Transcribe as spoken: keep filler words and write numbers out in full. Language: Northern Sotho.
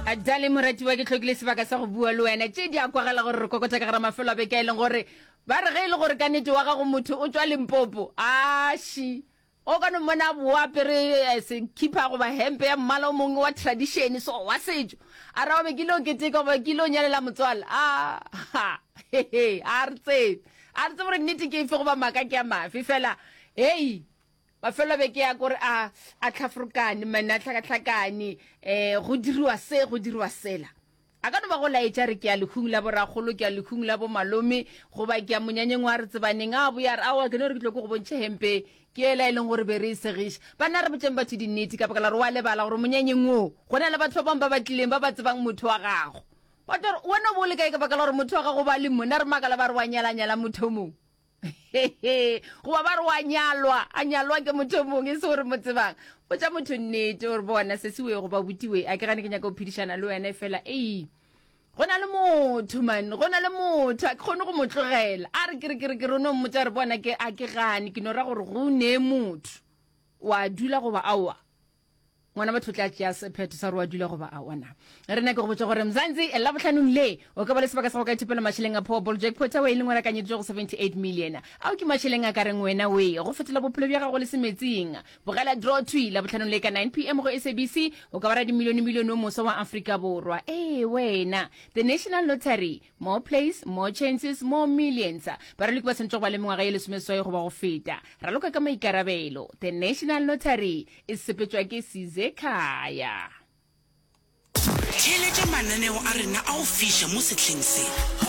Dale moratiwa, ke hlokile sebaka sa go bua le wena. Tše di a kwagala gore re kokota ka gara mafelo a beke a e leng gore ba re ge e le gore ka nnete wa gago motho o tšwa Limpopo, aši o ka no mmona a boa apere eh, sekhipha goba hempe ya mmala o mongwe wa tradition so wa setšo, a ra be ke ile o keteka goba ke ile o nyalela motswala. A ha hehe, a re tsebe, a re tsebe gore nnete ke efe goba maaka ke a mafe fela. Hei, mafelo a beke ya kore a a tlhafrokane mane, a tlhakatlhakane, um go diriwa se, go diriwa sela. A ka no ba go laetša re ke ya lehung la borakgolo, ke ya lehung la bomalome, goba ke ya monyanyeng wa re tsebaneng. A boya re aowa, ke no re ke tlo ke go bontšhe hempe ke ela e leng gore be re e segiša. Banna, re botšeng batho dinnete, ka baka la gore wa lebala gore monyanyeng woo go na le batho ba bangwe ba ba tlileng ba ba tsebang motho wa gago. Ba tlo re wena o bo o le kae ka baka la gore motho wa gago ba le mo na re makala ba re wa nyalanyala motho o mongwe, goba ba re wa nyalwa, a nyalwa ke motho o mongwe e se gore mo tsebang. Botša motho nnete gore bona se se we goba butiwe, a ke gane ke nyaka go phedišana le wena, e fela ei, go na le motho man, go na le motho a ke kgone go mo tlogela. A re ke re ke re ke re no mmotša re bona ke a ke gane, ke no ra gore go ne motho wa dula goba aowa. Ngwana batho tla tšea sephetho sa gore wa dula goba aowa. Na re nyake go botša gore Mzansi Labohlanong le o ka ba le sebaka sa go ka ithopela mašeleng a Powerball jackpot ao e leng gore akanyeditšwe go seventy-eight million. Ao ke mašeleng a ka reng wena we go fetola bophelo bja gago le semetsing. Bogela draw thwi Labohlanong le ka nine p m go S A B C, o ka ba radimilione milione o moswa wa Afrika Borwa. Ee wena, The National Lottery, more plays, more chances, more millions. Baraloki ba tshwanetse go ba le mengwaga ye lesomeseswai goba go feta. Raloka ka maikarabelo. The National Lottery e sepetšwa ke Sizekhaya. Theeletša mananeo a rena a go fiša mo sehleng se.